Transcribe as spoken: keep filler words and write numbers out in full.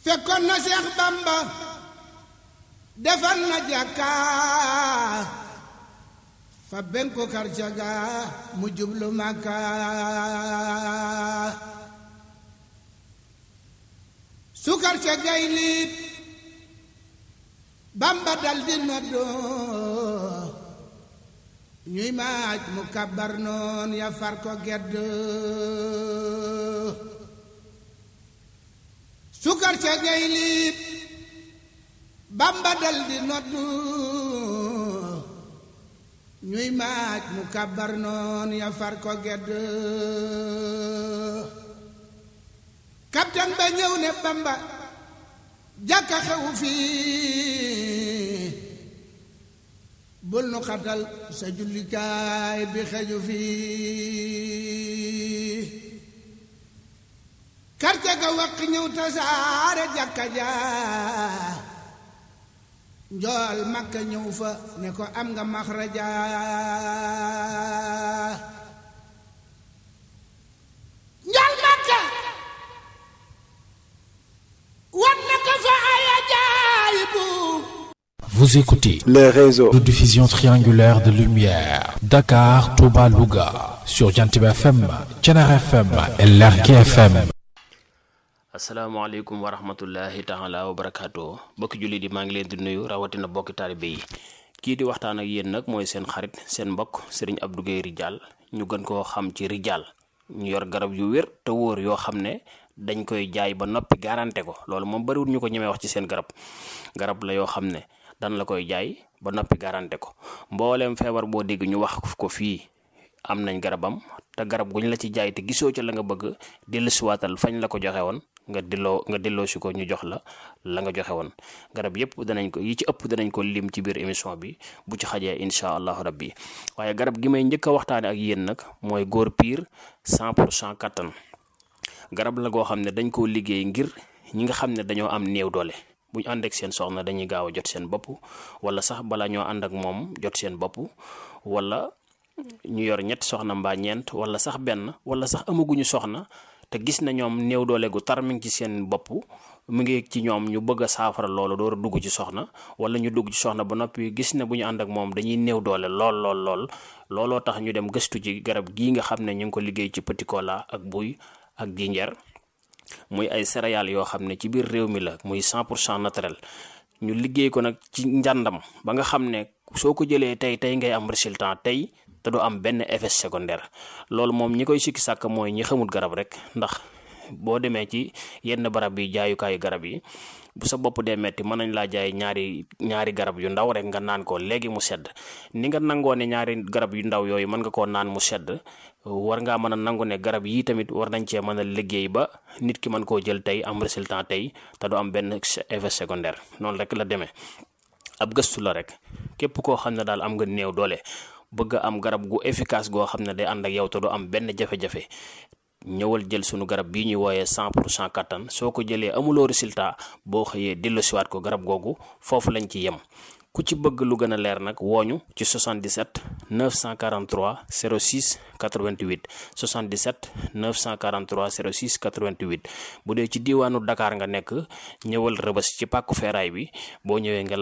fekkoon na Seex Bamba defal na jàkka fa ben ko karcaga mu jublu Makka su karcagay liit Bamba dal di noddo ñuy maaj mu kabbar noon ya far ko gedd su karcagay liit Bamba dal di noddu ñuy maaj mu kabbar noon ya far ko gedd kaptan ba ñëw ne Bamba jàkka xewu fii bul nu xatal sa jullikaay bi xeju fii karce ga waq ñëw tasaare jàkka ja njool Makka ñëw fa ne ko am nga maxraja njool Makka wan na ko fa ay ajaayibu. Vous écoutez les réseaux de diffusion triangulaire de lumière Dakar, Touba, Louga sur Jantib F M, Thiénaba F M et Lergui F M. asalaamaaleykum wa rahmatullahi taala wa barakaatu bokki julli di maa ngi leen di nuyu rawatina bokki taalibe yi kii di waxtaan ak yéen nag mooy seen xarit seen mbokk Serigne Abdou Guèye Ridial ñu gën koo xam ci Ridial ñu yor garab yu wér te wóor yoo xam ne dañ koy jaay ba noppi garanté ko loolu moom bariwul ñu ko ñemee wax ci seen garab garab la yoo xam ne dan la koy jaay ba noppi garanté ko mbooleem feebar boo dégg ñu wax ko fii am nañ garabam te garab guñ la ci jaay te gisoo ca la nga bëgg dellusiwaatal fañ la ko joxe woon nga delloo nga delloo si ko ñu jox la la nga joxe woon garab yëpp danañ ko yi ci ëpp danañ ko lim ci biir émission bi bu ci xajee incha allahu rabbi waaye garab gi may njëkk a waxtaane ak yéen nag mooy góor piir cent pour cent kattan garab la goo xam ne dañ koo liggéey ngir ñi nga xam ne dañoo am néew doole bu ñu ànd ak seen soxna dañuy gaaw a jot seen bopp wala sax bala ñoo ànd ak moom jot seen bopp wala ñu yor ñetti soxna mbaa ñeent wala sax benn wala sax amaguñu soxna te gis na ñoom néew doole gu tar mi ngi ci seen bopp mu ngi ci ñoom ñu bëgg a saafara loolu door a dugg ci soxna wala ñu dugg ci soxna ba noppi gis ne bu ñu ànd ak moom dañuy néew doole lool lool lool looloo tax ñu dem gëstu ci garab gii nga xam ne ñu ngi ko liggéey ci petit cola ak buy ak jinjeer muy ay céréales yoo xam ne ci biir réew mi la muy cent pour cent naturel ñu liggéey ko nag ci njàndam ba nga xam ne soo ko jëlee tey tey ngay am résultat tey te du am benn effet secondaire loolu moom ñi koy sikki sàkk mooy ñi xamul garab rek ndax boo demee ci yenn barab yi jaayukaayu garab yi bu sa bopp dee metti mën nañ laa jaay ñaari ñaari garab yu ndaw rek nga naan ko léegi mu sedd ni nga nangoo ne ñaari garab yu ndaw yooyu mën nga koo naan mu sedd war ngaa mën a nangu ne garab yii tamit war nañ cee mën a liggéey ba nit ki mën koo jël tey am résultat tey te du am benn effet secondaire noonu rek la demee ab gëstu la rek képp koo xam ne daal am nga néew doole bëgg a am garab gu efficace goo xam ne day ànd ak yow te du am benn jafe-jafe ñëwal jël sunu garab bii ñuy wooyee cent pour cent kattan soo ko jëlee amuloo résultat boo xëyee delloosiwaat ko garab googu foofu lañ ci yem ku ci bëgg lu gën a leer nag wooñu ci soixante-dix-sept neuf cent quarante-trois zéro six quatre-vingt-huit soixante-dix-sept neuf cent quarante-trois zéro six quatre-vingt-huit bu dee ci diiwaanu Dakar nga nekk ñëwal Rëbës ci pàkku feeraay bi boo ñëwee nga